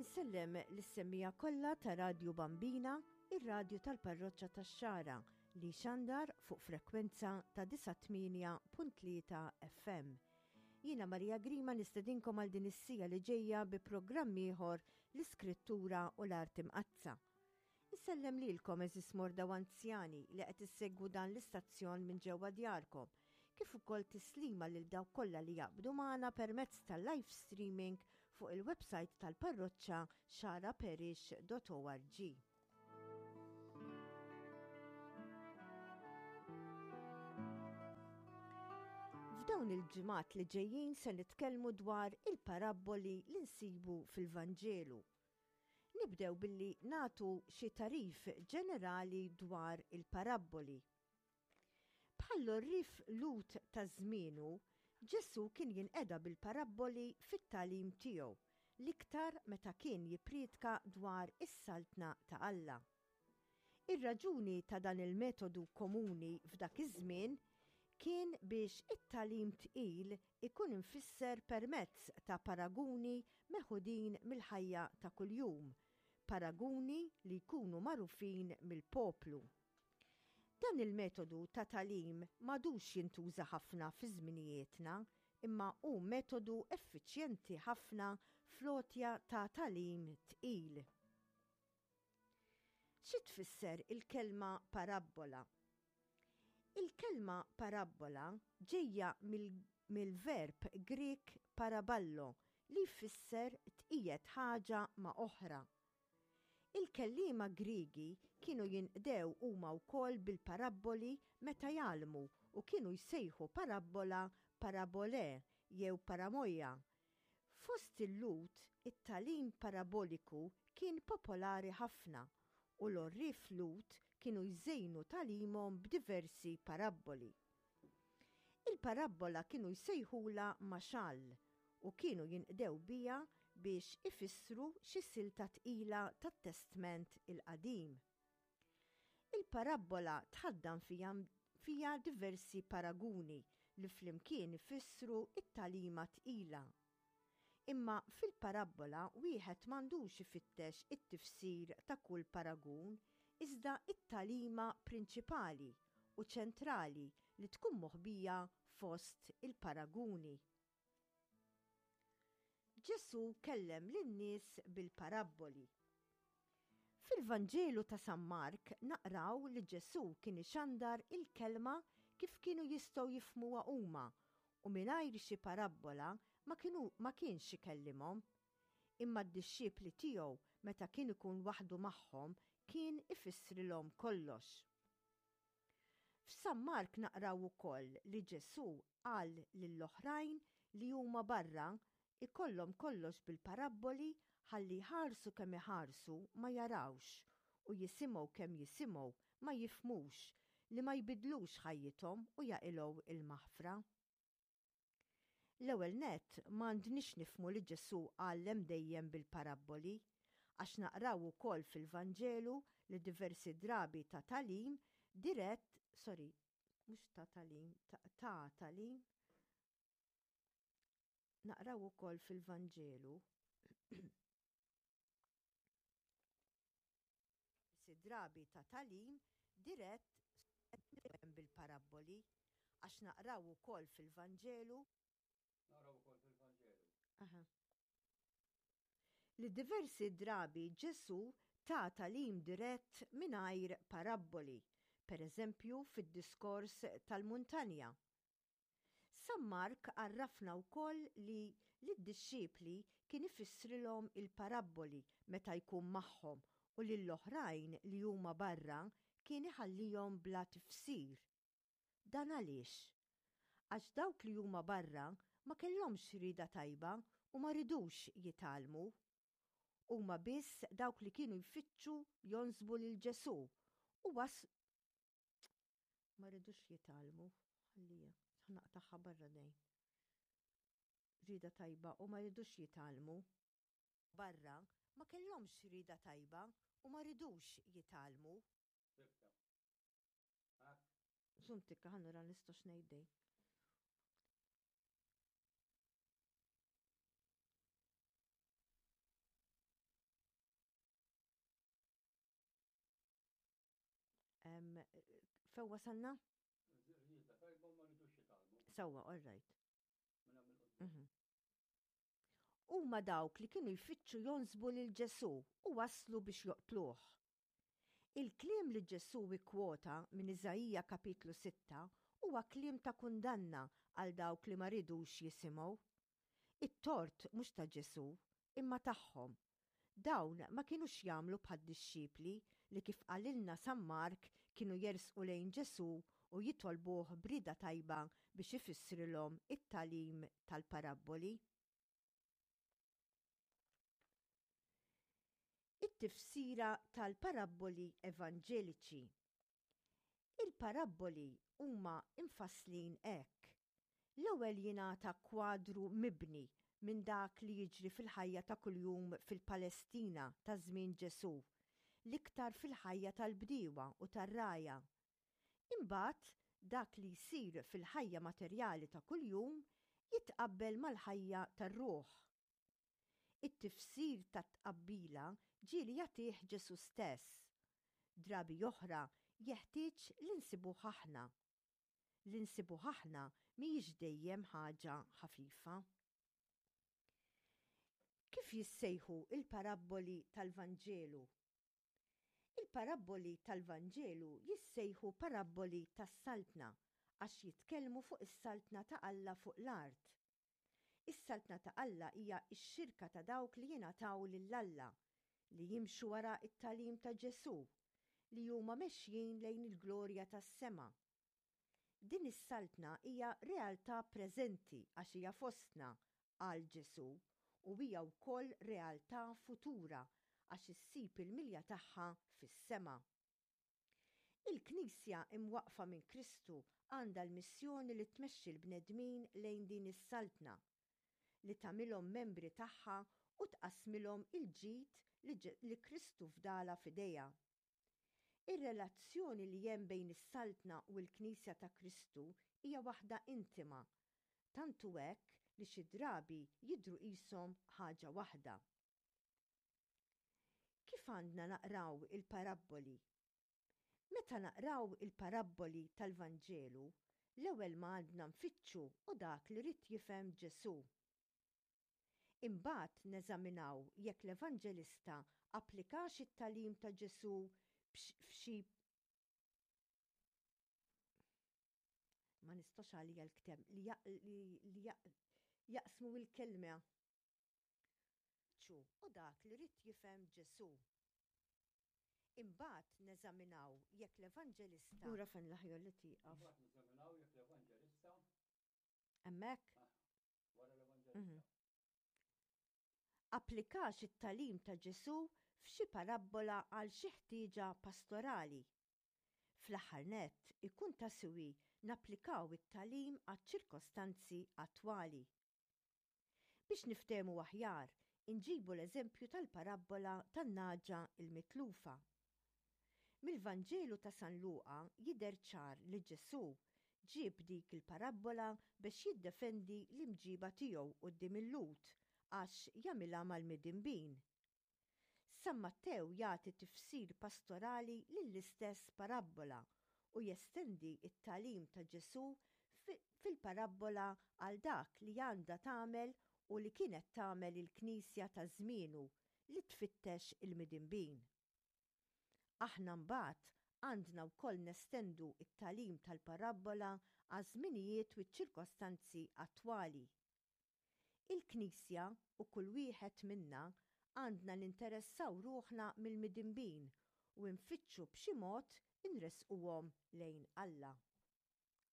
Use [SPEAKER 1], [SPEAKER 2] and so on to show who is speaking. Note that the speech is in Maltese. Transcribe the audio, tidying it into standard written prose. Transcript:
[SPEAKER 1] Insellem lis-semmiegħa kollha ta' Radju Bambina, ir-radju tal-Parroċċa tax-Xagħra li jxandar fuq frekwenza ta' 98.3 FM. Jiena Maria Grima nistedinkom għal din is-sija li ġejja bi programm ieħor l-Iskrittura u l-Art Imqaddsa. Insellem lilkom għeżież morda u anzjani li qed issegwu dan l-istazzjon minn ġewwa djarkom, kif ukoll tislima lil dawk kollha li jaqbdu magħna permezz tal-live streaming fuq il-website tal-parroċċa xaraparish.org. F'dawn il-ġimgħat li ġejjin se nitkellmu dwar il-parabboli li nsibu fil-Vanġelu. Nibdew billi nagħtu xi tagħrif ġenerali dwar il-parabboli. Bħall-għorrief Lhud ta' żmienu, Ġesù kien jinqeda bil-parabboli fit-tagħlim tiegħu, l-iktar meta kien jippriedka dwar is-Saltna ta' Alla. Ir-raġuni ta' dan il-metodu komuni f'dak iż-żmien kien biex it-tagħlim tqil ikun imfisser permezz ta' paraguni meħudin mill-ħajja ta' kuljum, paraguni li jkunu magħrufin mill-poplu. Dan il-metodu ta' tagħlim m'għadux jintuża ħafna fi żminijietna, imma hu metodu effiċjenti ħafna fl-għotja ta' tagħlim tqil. Xi tfisser il-kelma parabbola? Il-kelma parabbola ġejja mill-verb Grieg paraballo li jfisser tqiegħed ħaġa ma' oħra. Il-kelliema Griegi kienu jinqdew huma wkoll bil-parabboli meta jgħallmu u kienu jsejħu parabbola parabolè jew paramoia Fost il-Lhud, it-tagħlim paraboliku kien popolari ħafna u l-għorrief Lhud kienu jżejnu tagħlimhom b'diversi parabboli. Il-parabbola kienu jsejħulha maxal u kienu jinqdew biha biex ifissru xi silta tqila tat-Testment il-Qadim. Il-parabbola tħaddan fiha fiha diversi paraguni li flimkien ifissru t-tagħlima tqila. Imma fil-parabbola wieħed m'għandux ifittex it-tifsir ta' kull paragun iżda t-tagħlima prinċipali u ċentrali li tkun moħbija fost il-paraguni. Ġesù kellem lin-nies bil-parabboli. Fil-Vanġelu ta' San Mark naqraw li Ġesù kien ixandar il-kelma kif kienu jistgħu jifhmuha huma u mingħajr xi parabbola ma kienu ma kienx ikellimhom. Imma d-dixxipli tiegħu meta kien ikun waħdu magħhom kien ifissrilhom kollox. F'San Mark naqraw ukoll li Ġesù qal lill-oħrajn li huma barra ikollhom kollox bil-parabboli ħalli jħarsu kemm iħarsu ma jarawx u jisimgħu kemm jisimgħu ma jifhmux li ma jbiddlux ħajjithom u jaqilgħu il-maħfra. L-ewwel nett, m'għandniex nifhmu li Ġesù għallem dejjem bil-parabboli, għax naqraw ukoll fil-Vanġelu li diversi drabi ta tagħlim dirett, sorry, mhux ta tagħlim, ta tagħlim, naqraw ukoll fil-Vanġelu Diversi drabi ta tagħlim dirett bil-parabboli, għax naqraw ukoll fil-Vanġelu.
[SPEAKER 2] Naqraw ukoll fil-Vanġelu.
[SPEAKER 1] Aha. Li diversi drabi Ġesù ta tagħlim dirett mingħajr parabboli, pereżempju fid-diskors tal-muntanja. San Mark għarrafna wkoll li lid-dixxipli kien ifissrilhom il-parabboli meta jkun magħhom u lill-oħrajn li huma barra kien iħallihom bla tifsir. Dan għaliex? Għax dawk li huma barra ma kellhomx rieda tajba u ma ridux jitgħallmu. Huma biss dawk li kienu jfittxu jonsbu lil Ġesù u Ma ridux jitgħallmu, ħallija, naqtagħha barra dejn. Rieda tajba u ma ridux jitgħallmu. Barra, ma kellhomx rieda tajba u ma ridux jitgħallmu.
[SPEAKER 2] Sibta. Hekk.
[SPEAKER 1] Żomm tikka ħa nara nistgħux ngħid dejn. Fejn wasalna?
[SPEAKER 2] Rieda tajba ma ridux jitgħallmu.
[SPEAKER 1] Sewwa, all right. Mhm. Huma dawk li kienu jfittxu jonsbu lil Ġesù u waslu biex joqtluh. Il-kliem li Ġesù ikkwota minn Iżaija kapitlu 6 huwa kliem ta' kundanna għal dawk li ma ridux jisimgħu. It-tort mhux ta' Ġesù, imma tagħhom. Dawn ma kinux jagħmlu bħad-dixxipli li kif qalilna San Mark kienu jersqu lejn Ġesù u jitolbuh b'rieda tajba biex ifissrilhom it-tagħlim tal-parabboli. It-tifsira tal-parabboli evanġeliċi. Il-parabboli huma mfasslin hekk, L-ewwel jingħata kwadru mibni minn dak li jiġri fil-ħajja ta' kuljum fil-Palestina ta' żmien Ġesù, l-iktar fil-ħajja tal-bdiewa u tar-rgħajja. Imbagħad dak li jsir fil-ħajja materjali ta' kuljum jitqabbel mal-ħajja tar-ruħ. It-tifsir tat-tqabbila ġieli jagħtih Ġesù stess. Drabi oħra jeħtieġ li nsibuh aħna. Li nsibuh aħna mhijiex dejjem ħaġa ħafifa. Kif jissejħu l-parabboli tal-Vanġelu? Il-parabboli tal-Vanġelu jissejħu parabboli tas-Saltna għax jitkellmu fuq is-Saltna ta' Alla fuq l-art. Is-Saltna ta' Alla hija x-xirka ta' dawk li jingħataw lil Alla, li jimxu wara t-tagħlim ta' Ġesù, li huma mexjin lejn il-glorja tas-sema. Din is-Saltna hija realtà preżenti għax hija fostna, qal Ġesù, u hija wkoll realtà futura għax issib il-milja tagħha fis-sema. Il-Knisja imwaqqfa minn Kristu għandha l-missjoni li tmexxi l-bnedmin lejn din is-Saltna, li tagħmilhom membri tagħha u tqassmilhom il-ġid li Kristu fdalha f'idejha. Ir-relazzjoni li hemm bejn is-Saltna u l-Knisja ta' Kristu hija waħda intima, tant hu hekk li xi drabi jidhru qishom ħaġa waħda. Kif għandna naqraw il-parabboli? Meta naqraw il-parabboli tal-Vanġelu, l-ewwel ma għandna nfittxu hu dak li ried jifhem Ġesù. Imbagħad neżaminaw jekk l-evanġelista applikax it-tagħlim ta' Ġesù f'xi Ma nistax għalija l-kteb li jaqsmu l-kelma. Hu dak li ried jifhem Ġesù. Imbagħad neżaminaw jekk l-evanġelista. Lura fejn l-aħjar li tieqaf.
[SPEAKER 2] Imbagħad neżaminaw jekk l-evanġelista.
[SPEAKER 1] Hemmhekk?
[SPEAKER 2] Ah, wara l-evanġelista.
[SPEAKER 1] Applikax it-tagħlim ta' Ġesù f'xi parabbola għal xi ħtieġa pastorali. Fl-aħħar nett, ikun ta' siwi napplikaw it-tagħlim għaċ-ċirkostanzi attwali. Biex niftehmu aħjar, inġibu l-eżempju tal-parabbola tan-nagħġa l-mitlufa. Mill-Vanġelu ta' San Luqa jidher ċar li Ġesù ġieb dik il-parabbola bex jiddefendi l-imġiba tiegħu quddiem il-Lhud għax jagħmilha mal-midinbin. San Mattew jagħti tifsir pastorali lill-istess parabbola u jestendi t-tagħlim ta' Ġesù fil-parabbola għal dak li għandha tagħmel u li kienet tagħmel il-Knisja ta' żmienu li tfittex il-midinbin. Aħna mbagħad għandna wkoll nestendu t-tagħlim tal-parabbola għaż-żminijiet u ċ-ċirkostanzi attwali. Il-Knisja u kull wieħed minna għandna ninteressaw ruħna mill-midinbin u nfittxu b'xi mod inressquhom lejn Alla.